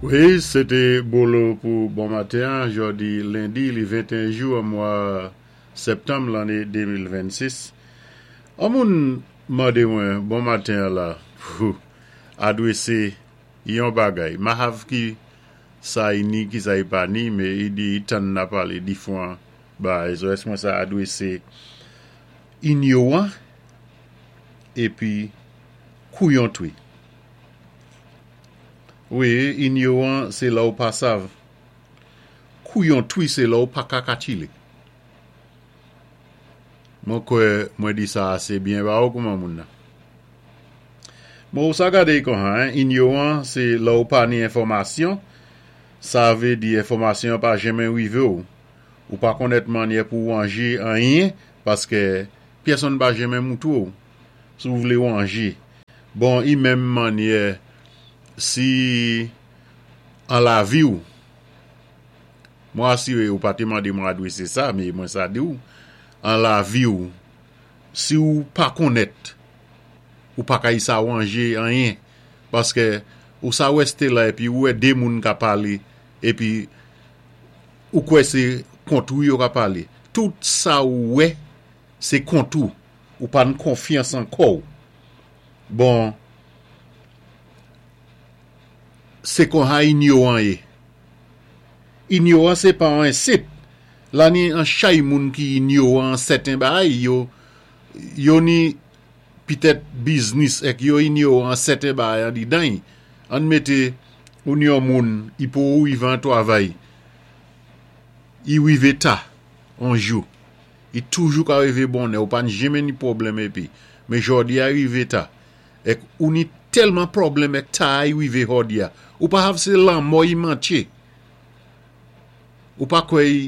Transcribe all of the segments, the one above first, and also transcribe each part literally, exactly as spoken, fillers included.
Wi, sé té Bolo pou bon maten, jòdi lendi, li venteyen jou an mwa septanm lanné de mil vennsis. An moun mandé mwen bon maten la pou adwésé yon bagay. Ma hav ki sa i ni, ki sa i pa ni, mé i di i tann na palé difwan bagay. So èsk mwen sa adwésé inyowan épi kouyon twi. Wi, inyowan sé lè ou pa sav. Kouyon twi sé lè ou pa ka katchilé. Mwen kwè mwen di sa asé byen ba ou kouman moun nan. Bon, ou sa gadé konha, inyowan sé lè ou pa ni enfòmasyon, sa vlé di enfòmasyon pa jenmen wivé ou. Ou pa konnèt mannyè pou wanjé anyen, paské pyèsonn pa jenmen moutou ou. Si ou vlé wanjé. Bon, i menm mannyè si an lavi ou, mwen asiré ou pa té mandé mwen adwésé sa, mé mwen sa di ou, an lavi ou, si ou pa konnèt, ou pa ka sa wanjé anyen, paské ou sa wèsté la épi ou wè dé moun ka palé, épi ou kwè sé kont ou yo ka palé. Tout sa ou wè, sé kont ou, ou pa n konfyans an kò ou. Bon, sé konha inyowan yé. Inyowan sé pa an ensit. La ni an chay moun ki inyowan sèten bagay, yo, yo ni pitèt biznis èk yo inyowan sèten bagay an didan. An mété ou ni yon moun, i pou ou wivé an twavay. I wivé ta, an jou. I toujou ka wivé bonnè, ou pa jenmen ni pwoblèm épi. Mé jòdi a wivé ta. Èk ou ni tèlman pwoblèm èk ta i wivé jòdi a. Ou pa hav sé lanmò i mantché. Ou pa kwè i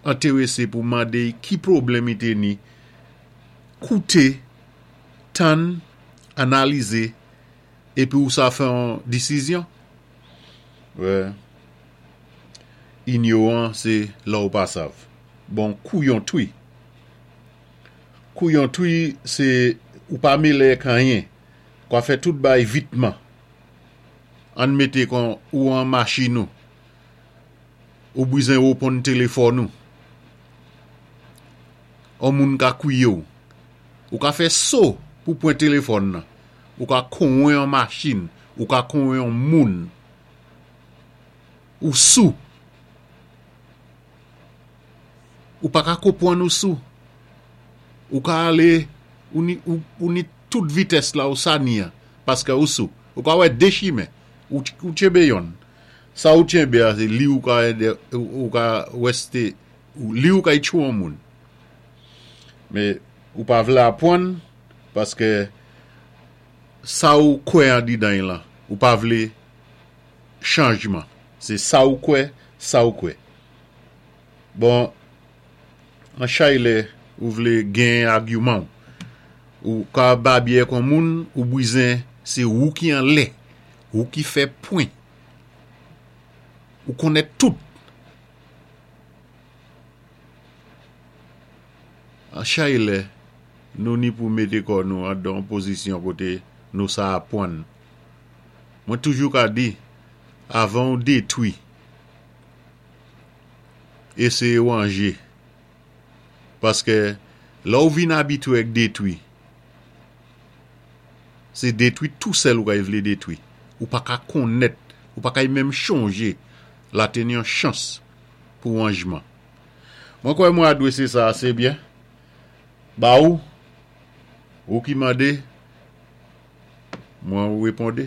entéwésé pou mandé ki pwoblèm i té ni. Kouté, tann, analizé, épi ou sa fè an disizyon. Wè, inyowan sé lè ou pa sav. Bon, kouyon twi. Kouyon twi, sé ou pa mélé èk anyen. Kwa fè tout bagay vitman. An mété kon ou an machin ou. Ou bizwen wéponn téléfòn ou. An moun ka kwiyé ou. Ou ka fè so pou pwan téléfòn nan. Ou ka konwen an machin. Ou ka konwen an moun. Ou sou. Ou pa ka konpwann ou sou. Ou ka alé, ou ni, ou, ou ni tout vitès la ou sa ni an, paské ou sou. Ou ka wè dé chimen, ou, ou tchenbé yonn. Sa ou tchenbé a, sé li ou ka, ou, ou ka wèsté, ou, li ou ka tchou an moun. Mé ou pa vlé apwann, paské sa ou kwè an didan lan, ou pa vlé chanjman. Sé sa ou kwè, sa ou kwè. Bon, an chay lè ou vlé gen agiman. Ou ka babyé kon moun, ou bizwen, sé ou ki an lè, ou ki fè pwen. Ou konnèt tout. An chay lè, nou ni pou mété kò nou an dan pozisyon koté nou sa apwann. Mwen toujou ka di, avan ou détwi, éséyé wanjé. Paské lè ou vin abitwé èk détwi, sé détwi tou sèl ou ka vlé détwi. Ou pa ka konnèt, ou pa ka menm chonjé la té ni yon chans pou wanjman. Mwen kwè mwen adwésé sa asé byen. Ba ou, ou ki mandé, mwen wépondé.